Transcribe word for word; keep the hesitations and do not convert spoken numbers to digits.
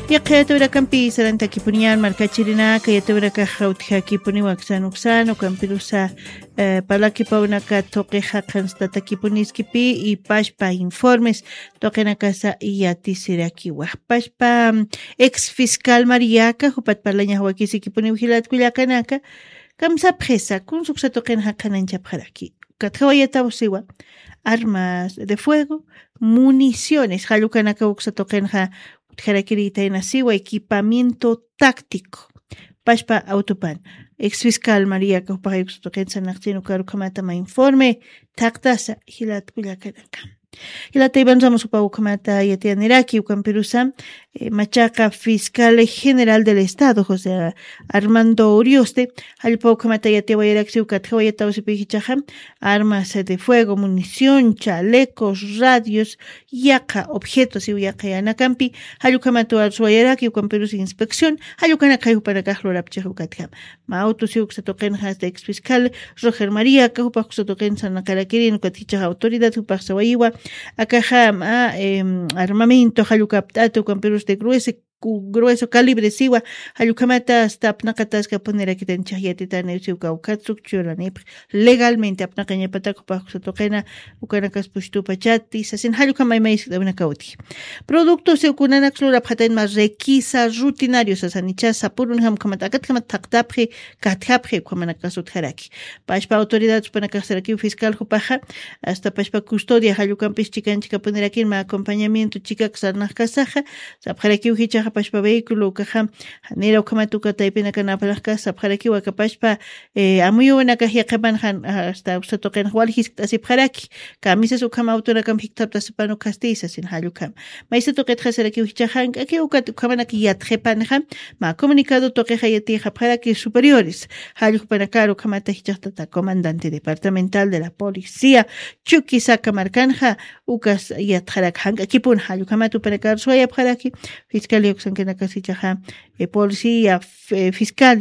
Yaqha yatawirakampi sarantakipuniñan markachirinaka, yatawirakaxa utjakipuniwa aksan uksan ukampirusa, eh, parlakipawnaka tuqixa qhanstatakipunisqipi y pashpa informes tuqinakasa yatisirakiwa. Pashpa, mm, ex fiscal Mariaka jupat parlañax wakisikipuniw jilat kullakanaka, kamsapxisa kunsuksa tuqinxa qhananchapxaraki. Katjawayataw siwa, armas de fuego, municiones, jallukanaka uksa tuqinxa utjarakirïtayna siwa, equipamiento táctico. Pashpa autopan. Ex fiscal María Caupaja uksa tuqin sarnaqchin ukarukhamata ma informe thaqtasa jilat kullakanaka. Jilata Iván Ramos upa ukhamata yatiyaniraki ukampirusa, eh, machaqa fiscal general del Estado, José Armando Urioste, jallpa ukhamata yatiyawayaraksi ukatjawayatawsipi jichaxa, armas de fuego, munición, chalecos, radios, yaqha objetos y yaqha yanakampi, jallukamatu arsuwayaraki ukampirus inspección, jallukanaka jupanakax lurapchix ukatjam. Ma autos y uksa tuqinxa hasta ex fiscal, Roger María, ka jupax uksa tuqin sarnaqarakirin, ukat jichaxa autoridad jupax sawayiwa, akaxa ma, em, armamento, jallukapt'ata ukampirus de grueso, cu-, grueso calibre siwa, jallukhamata hasta apnaqataskapunirakitan chajyatitani siw kawkhat sukchuranipi legalmente apnaqañapatak jupax uksa tuqina, ukanakas pushtupachati, sasin jallukhama imayskta unakawti. Productos y ukunanaks lurapxatayn ma requisa rutinario sasanicha sapurunjam ukhamata, akatkhamata thaqtapxi, katjapxi, ukhamanakas utjaraki. Pashpa autoridad jupanakax sarakiw fiscal jupaxa, hasta pashpa custodia jallukampis chikan chikapunirakir ma acompañamiento chikak sarnaqkasaxa, sapxarakiw jichaxa pashpa vehículo ukaxa, janira ukhamat uka taypinakan apnaqkas sapxarakiw aka pashpa, eh, amuyuwinakax yaqhipanxa, hasta uksa tuqinxa wal jiskt'asipxaraki, kamisas ukham autonakamp jikthaptasipan ukhasti sasin jallukham. Maysa tuqitxa sarakiw jichaxa jank'akiw ukat ukhamanak yatxipanxa, ma comunicado tuqixa yatiyxapxaraki superiores, jallukpanakar ukhamata jichaxtata comandante departamental de la policía, Chuquisaca markanxa, ukas yatxarak jank'akipun jallukhamat upanakar suwayapxaraki, fiscalía uksankanakas jichaxa, eh, policía, f-, eh, fiscal,